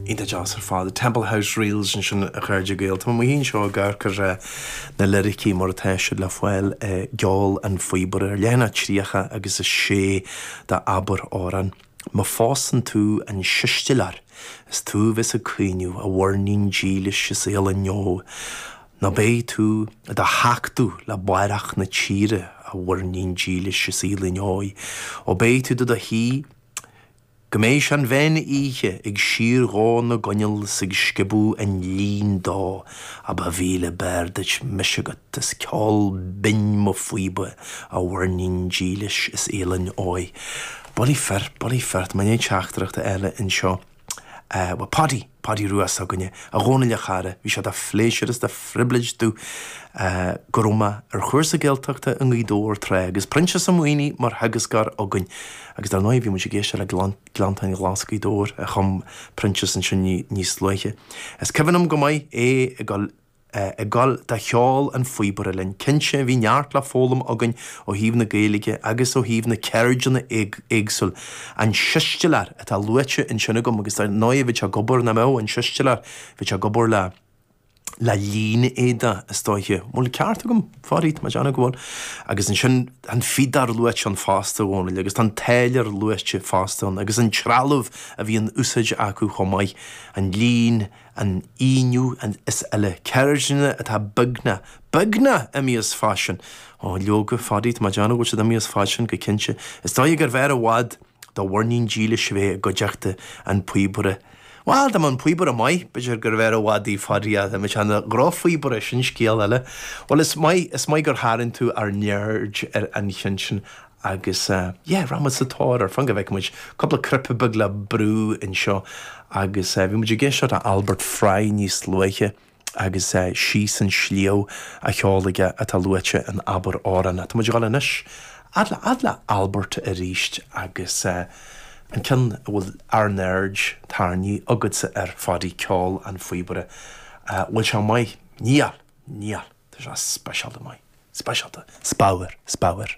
Iontach deas ar fad. Temple House Reels ansin a chairde Gael. Tá mé amuigh anseo ag amharc ar na liricí mar atá siad le fáil i gCeol an Phíobaire ar leathanach 30 agus 6 de Abair Amhrán. Má phósann tú an sistiléir is tú a bheas ag caoineadh, a mhuirnín dílis is álainn ó. Nó beidh tú i do thachtadh le báireach na tíre, a mhuirnín dílis is álainn ó. Ó beidh tú do do shuí Go mbeidh sé an mheán oíche ag síordhó na gcoinneal 's ag sciobadh an lín dó, á ba mhíle b'fhearr duit mise agat is ceol binn mo phíoba, a mhuirnín dílis is álainn óigh. Bullaí fir, bullaí fir, tá mé i ndiaidh teachtaireacht a fháil anseo. Bhuel, Paudie, Paudie Rua s'againne, a Dhónaill a chara, bhí sé de phléisiúr is de phribhléid domh go raibh mé ar chúrsa Gaeltachta i nGaoth Dobhair tráth agus Proinsias Ó Maonaigh mar theagascóir againn agus dar ndóigh bhí muid ag éisteacht le Gleanntáin Ghlas Ghaoth Dobhair a chum Proinsias ansin níos luaithe. Is cuimhin liom go maith é ag dul ag gabháil do cheol an phíobaire linn. Cinnte, bhí neart le foghlaim againn ó thaobh na Gaeilge agus ó thaobh na ceirdeanna éagsúil. An sistiléir atá luaite ansin agam agus dar ndóigh bheadh sé ag obair, nach mbeadh, an sistiléir, bheadh sé ag obair le le lín éadaigh is dóiche. An bhfuil an ceart agam, Pháidí, tá mé ag déanamh go bhfuil. Agus ansin an phíodóir luaite ann fosta, a Dhónaill, agus tá an táilliúir luaite fosta ann agus an trealamh a bhí in úsáid acu chomh maith, an lín, an fhíniú is eile, ceirdeanna atá beagnach, beagnach imithe as faisean. Ó, leoga, Pháidí, tá mé ag déanamh go bhfuil siad imithe as faisean go cinnte. Is dóigh gurbh fhearr i bhfad do mhuirnín dílis a bheith i gcuideachta an phíobaire. Bhuel, dá mbeadh an píobaire maith, b'fhéidir gurbh fhearr i bhfad í, Pháidí, ach dá mbeadh sé ina dhrochphíobaire, sin scéal eile. Bhuel, is maith, is maith gur tharraing tú ár n-aird ar an cheann sin. Agus yeah, rachaidh muid sa tóir air, fan go bhfeicfidh muid, cúpla cnaipe beag le brú anseo agus bhí muid ag éisteacht le Albert Fry níos luaithe agus Síos an Sliabh á cheol aige atá luaite in Abair Amhrán. Tá muid ag dul anois fhad le fhad le Albert arís agus an ceann a bhfuil ár n-aird tarraingthe agatsa air, a Pháidí, Ceol an Phíobaire. Bhfuil sé maith? Níl! Níl! Tá sé speisialta maith. Speisialta. Spadhar. Spadhar.